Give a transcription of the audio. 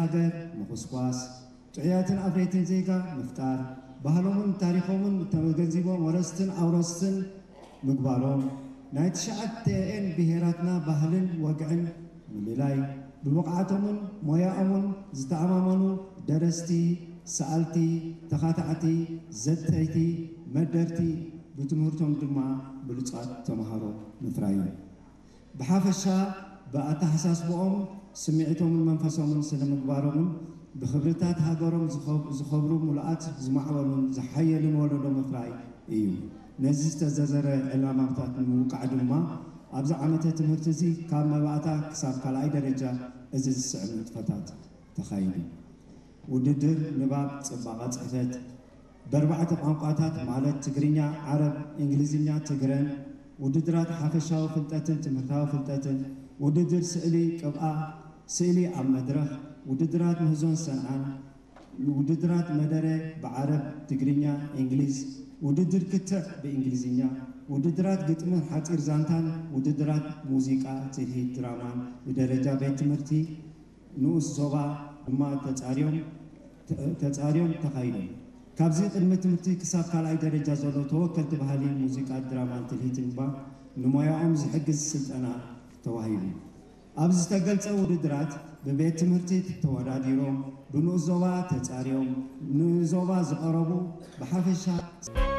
ሃገር ምኹስኳስ፣ ጥዑያትን ኣፍረይትን ዜጋ ምፍጣር፣ ባህሎምን ታሪኾምን ተገንዚቦም ወረስትን ኣውረስትን ምግባሮም፣ ናይ ትሽዓተኤን ብሄራትና ባህልን ወግዕን ምልላይ፣ ብብቕዓቶምን ሞያኦምን ዝተኣማመኑ ደረስቲ፣ ሰኣልቲ፣ ተኻታዕቲ፣ ዘተይቲ፣ መደርቲ፣ ብትምህርቶም ድማ ብሉጻት ተምሃሮ ምፍራይ እዩ። ብሓፈሻ ብኣተሓሳስብኦም፣ ስምዒቶምን መንፈሶምን ስነ ምግባሮምን ብኽብርታት ሃገሮም ዝኸብ- ዝኸብሩ፣ ምሉኣት፣ ዝማዕበሉን ዝሓየሉን ወለዶ ምፍራይ እዩ። ነዚ ዝተዘዘረ ዕላማታት ንምውቃዕ ድማ ኣብዚ ዓመተ ትምህርቲ እዚ ካብ መባእታ ክሳብ ካልኣይ ደረጃ እዚ ዝስዕብ ንጥፈታት ተኻይዱ። ውድድር ንባብ ጽባቐ ጽሕፈት በርባዕተ ቋንቋታት ማለት ትግርኛ፣ ዓረብ፣ እንግሊዝኛ፣ ትግረን፣ ውድድራት ሓፈሻዊ ፍልጠትን ትምህርታዊ ፍልጠትን፣ ውድድር ስእሊ ቅብኣ፣ ስእሊ ኣብ መድረኽ፣ ውድድራት ምህዞን ሰንዓን፣ ውድድራት መደረ ብዓረብ፣ ትግርኛ፣ እንግሊዝ፣ ውድድር ክትዕ ብእንግሊዝኛ፣ ውድድራት ግጥምን ሓጺር ዛንታን፣ ውድድራት ሙዚቃ፣ ትልሂት፣ ድራማን ብደረጃ ቤት ትምህርቲ ንኡስ ዞባ ድማ ተጻርዮም ተጻርዮም ተኻይዶም። ካብዚ ቅድሚ ትምህርቲ ክሳብ ካልኣይ ደረጃ ዘሎ ተወከልቲ ባህሊ፣ ሙዚቃ፣ ድራማን ትልሂትን ድማ ንሞያኦም ዝሕግዝ ስልጠና ተዋሂቡ። ኣብ ዝተገልጸ ውድድራት ብቤት ትምህርቲ ተወዳዲሮም፣ ብንኡስ ዞባ ተጻርዮም፣ ንዞባ ዝቐረቡ ብሓፈሻ